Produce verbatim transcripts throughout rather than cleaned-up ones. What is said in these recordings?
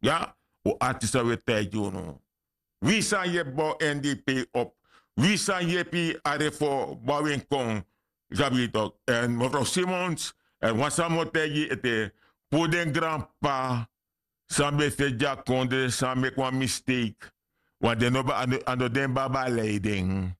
Ya, un arti san un e taigi unu. Wi san yepi bow n d p op. Wi san yepi a refo bow en kon. Yu sabi tok. Èn mefrow simons, èn wan san mi o taigi yu ete, puru den granp'pa san ben fesi gi a kondre san meki wan misteik. Wan den no ben a no den ben abi a lei den.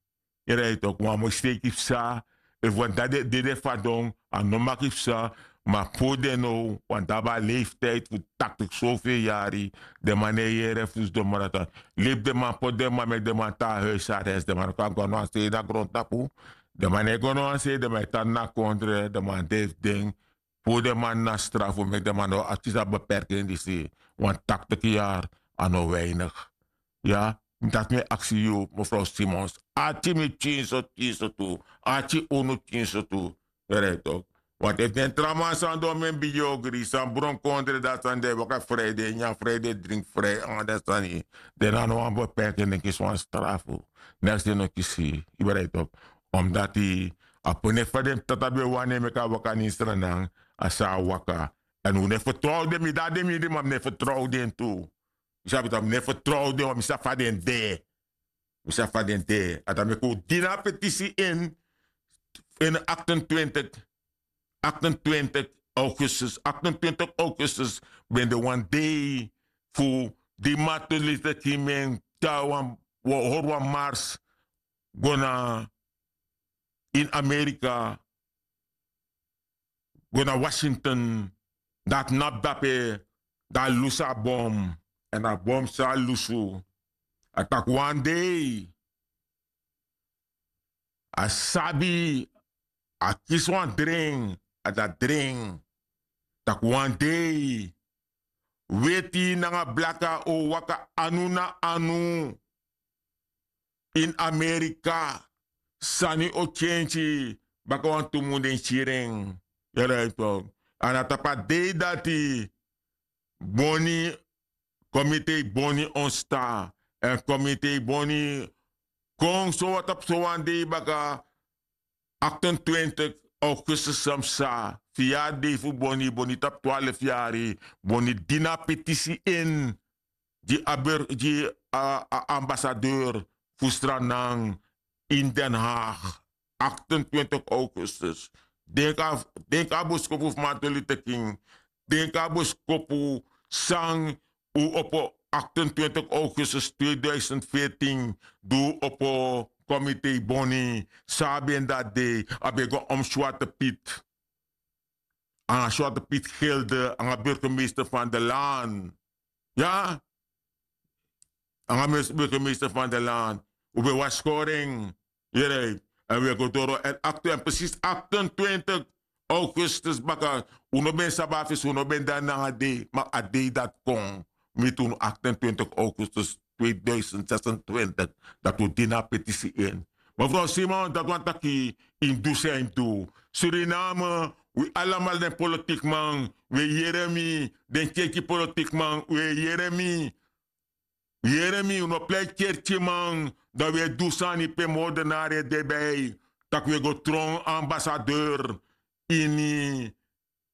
Yu rai tok wan misteik yu psa. Efu wan dati de de fadon a no maki psa. Ma puru den now wan dati abi a leiftiyd fu taktik sofel yari. Den man no e yere fu sidon moro a tan. Libi den man poti den man meki den man tan na huis ares den man no kan go na wan sei na grontapu. Den man no e go na wan sei den man e tan na kondre den man de fu den. Puru den man na strafu meki den man no akisi a beperking disi. Wan taktik yari a no weinig. Ya, dati mi e aksi yu mefrow simons, ati mi pikin so pikin so tu. Ati unu pikin so tu. Yu rai tok. Want efu den tra man san don mi en bigi ogri san bron kondre dati san den e waka frede nyan frede dringi frede anga den sani. Den na no wan beperking den kisi wan strafu. Neks den no kisi. Yu rai tok. Omdati a pone fa den tata ben wani en meki a waka na ini sranan. A sa a waka. Èn un no e fertrow den mi de na den mindri ma mi no e fertrow den tu. Yu sabi tak' mi no e fertrow den wan mi sabi fa den de. Mi sabi fa den de a dan meki un dini a petisi ini ini aktentwintig aktentwintig augustus aktentwintig augustus. Ben de wan dei fu di martin luther king mi en tyari wan hori wan mars go na ini amerika. Go na washington. Dan a tnapu dape dan a lusu a bom. Èn a bom san a lusu a taki wan dei a sabi a kisi wan dren. A dati dren tak' wan dei weti nanga blaka o waka anu na anu. Ini amerika sani o kenki baka wantu mun den kiri en. Yu e rai tok. A na tapu a dei dati boni komitei boni onsta èn komitei boni kon sowan tapu sowan dei baka. Aktentwintig augustus san psa fu yari dei fu boni boni tapu twalfu yari boni dini a petisi ini gi a ambasadeur fu stranan ini den haag. Aktentwintig augustus. Denki a boskopu fu martin luther king. Denki a boskopu san un opo aktentwintig augustus tweeduizend veertien di un opo komitei boni san a ben dati dei a ben go om swarte piet. Nanga swarte piet gilde nanga burgemeester van de laan. Ya. Nanga burgemeester van de laan un ben wasi kori en. Yere. Èn un e go doro èn aktu èn presis aktentwintig augustus baka. Un no ben sabi a fesi un no ben de na nanga dei ma a dei dati kon miti unu aktentwintig augustus tweeduizend zesentwintig. Dati un dini a petisi ini. Mefrow simon dati wani taki yu mus du san yu mus du. Suriname wi alamala den politikman wi e yere mi. Den kerki politikman wi e yere mi. Yere mi un no plei kerkiman dan wi e du sani pe mordenari e de bai. Tak' wi e go tron ambasadeur ini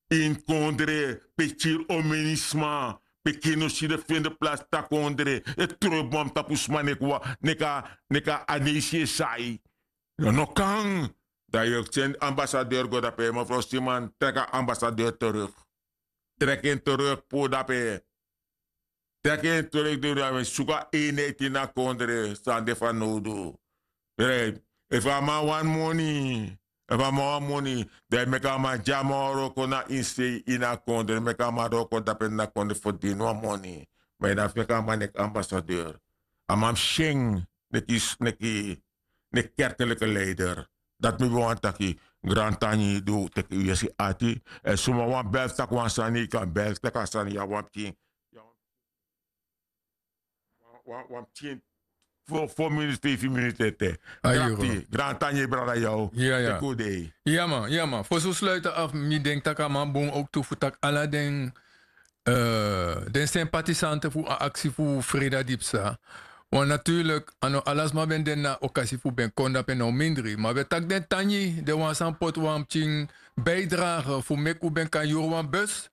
ini kondre pe kiri omenisma pe kiri no si de fende plasi takondre e tron e bom tapu sma neki wan neki a neki a aneisi e sai. No kan. Dan yu e seni ambasadeur go dape mefrow siman treki a ambasadeur teruk. Treki en teruk puru dape. Teki en treki duru a ben suku a enheiti ini a kondre san de fanowdu. Efu a man wani moni efu a man wani moni dan e meki a man gi a man wan wroko na ini sei ini a kondre meki a man wroko dape ini a kondre ferdini wan moni. Ma yu na fu meki a man neki ambasadeur. A man mus si en neki neki neki kerkeliki leider. Dati mi ben wani taki. Grantangi di un teki yu yesi ati èn suma wan bel fu taki wan sani yu kan bel fu taki a sani yu a wan pikin. Wan pikin fo miniti feifi miniti ete. Granti granti a nyen brada yu a o. Teki un dei. Ya man ya man fosi un sluiti afu mi denki tak' a man bun owktu fu taki ala den den sympathisante fu a aksi fu freda di psa. Wan naturlik a no ala sma ben de na okasi fu ben kon dape na un mindri ma un e taki den tangi den wan san poti wan pikin bijdrage fu meki un ben kan yuru wan bus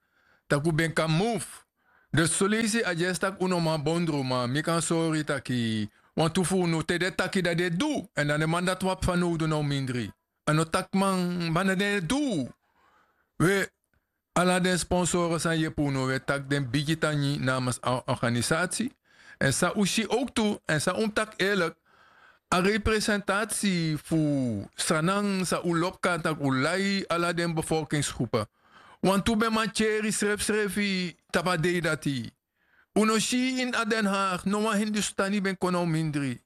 tak' un ben kan move. Dus soleisi a dyesi tak' un no man bondru ma mi kan sori taki wantu fu unu te den e taki dan den e du. Èn dan den man dati wan psa nowdu na un mindri. A no taki man ma na den e du. We ala den sponsoro san yepi unu we taki den bigi tangi namens a organisati. Èn san un si owktu èn san un mus taki eerlik, a representati fu sranan san un lobi kon na taki un lai ala den befolkingsgrupu. Wantu ben man tyeri srefsrefi tapu a dei dati. Un no si ini a den haag no wan hindustani ben kon na un mindri.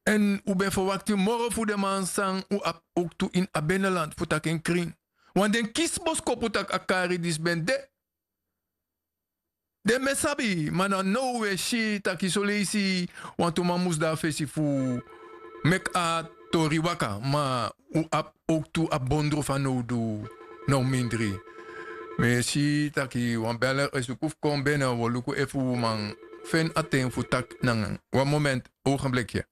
Èn un ben ferwakti moro fu den man san un abi owktu ini a beneland fu taki en krin. Wan den kisi boskopu tak' a kari disi ben de. Den ben sabi ma na now un e si taki soleisi wantu man mus de na fesi fu meki a tori waka ma un abi owktu a bondro fanowdu. Now mindri. Mi e si taki wan beler e suku fu kon bene un o luku efu un man feni a ten fu taki nanga en. Wan moment. Ogenblikye.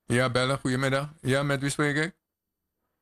Ya beler guyemiddag. Ya met wi spreke.